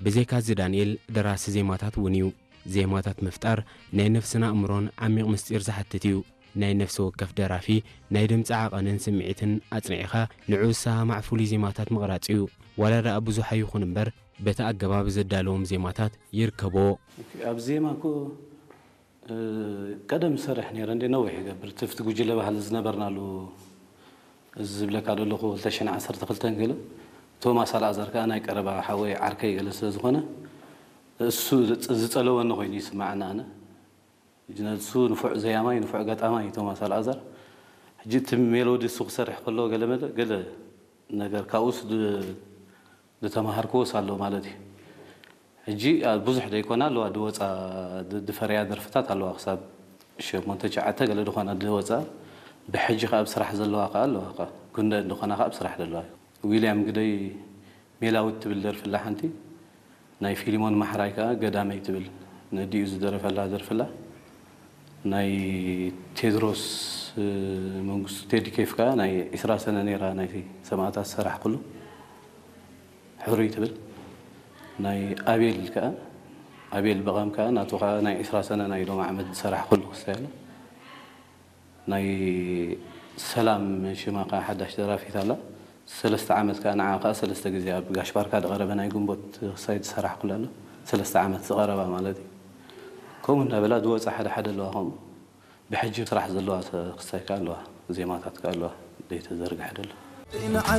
ብዘይካዚ ዳንኤል ደራሲ ዜማታት እውን እዩ። ዜማታት ምፍጣር ናይ ነፍስን ኣእምሮን ዓሚቕ ምስጢር ዝሓትት እዩ። ናይ ነፍሲ ወከፍ ደራፊ ናይ ድምፂ ዓቐንን ስምዒትን ኣጽኒዕኻ ንዕኡ ዝሰማማዕ ፍሉይ ዜማታት ምቕራጽ እዩ። ዋላ ደኣ ብዙሕ ኣይኹን እምበር በቲ ኣገባብ ዘዳለዎም ዜማታት ይርከብዎ። ኣብ ዜማ እኮ ቀደም ዝሰርሕ ነይረ እንደ ነዊሕ ይገብር ትፍቲ ጉጅለ ባህሊ ዝነበርናሉ እዚ ዝብለካ ዘለኹ ክልተ ሽሕን ዓሰርተ ክልተን ገለ ቶማስ ኣልኣዛር ከዓ ናይ ቀረባ ሓወይ ዓርከይ ገለ ስለ ዝኾነ እሱ ዝፀለወኒ ኮይኑ ይስማዓኒ ኣነ። ሕጂ ነሱ ንፉዕ ዘያማይ ንፉዕ ገጣማይ እዩ ቶማስ ኣልኣዛር። ሕጂ እቲ ሜሎዲ እሱ ክሰርሕ ከሎ ገለ መለ ገለ ነገር ካብኡስ ድ- ዝተማሃርክዎስ ኣሎ ማለት እዩ። ሕጂ ኣብ ብዙሕ ዘይኮና ኣለዋ ድወፃ ድ- ድፈረያ ደርፍታት ኣለዋ ክሳብ ሸሞንተ ትሽዓተ ገለ ዝኾና ድወፃ ብሕጂ ከዓ ኣብ ስራሕ ዘለዋ ከዓ ኣለዋ ከዓ ጉንደ ዝኾና ከዓ ኣብ ስራሕ ዘለዋ እዩ። ዊልያም ግደይ ሜላዊት ትብል ደርፍላ ሓንቲ ናይ ፊሊሞን ማሕራይ ከዓ ገዳመይ ትብል ነዲኡ ዝደረፈላ ደርፍላ ናይ ቴድሮስ መንግስቱ ቴዲ ኬፍ ከዓ ናይ ዒስራ ሰነ ነይራ ናይ ሰማእታት ዝሰራሕኩሉ ሕሩይ ትብል ናይ ኣቤል ከዓ ኣቤል በቓም ከዓ ናቱ ከዓ ናይ ዒስራ ሰነ ናይ ሎም ዓመት ዝሰራሕኩሉ ክሳይ ኣሎ ናይ ሰላም ሽማ ከዓ ሓዳሽ ደራፊት ኣላ ሰለስተ ዓመት ከዓ ንዓ ከዓ ሰለስተ ግዜ ኣብ ጋሽ ባርካ ዝቐረበ ናይ ግንቦት ክሳይ ዝሰራሕኩላ ኣሎ ሰለስተ ዓመት ዝቐረባ ማለት እዩ ከምኡ እንዳበላ ዝወፃ ሓደ ሓደ ኣለዋ ከምኡ ብሕጂ ስራሕ ዘለዋ ክሳይ ከዓ ኣለዋ ዜማታት ከዓ ኣለዋ ዘይተዘርግሐ ደሎ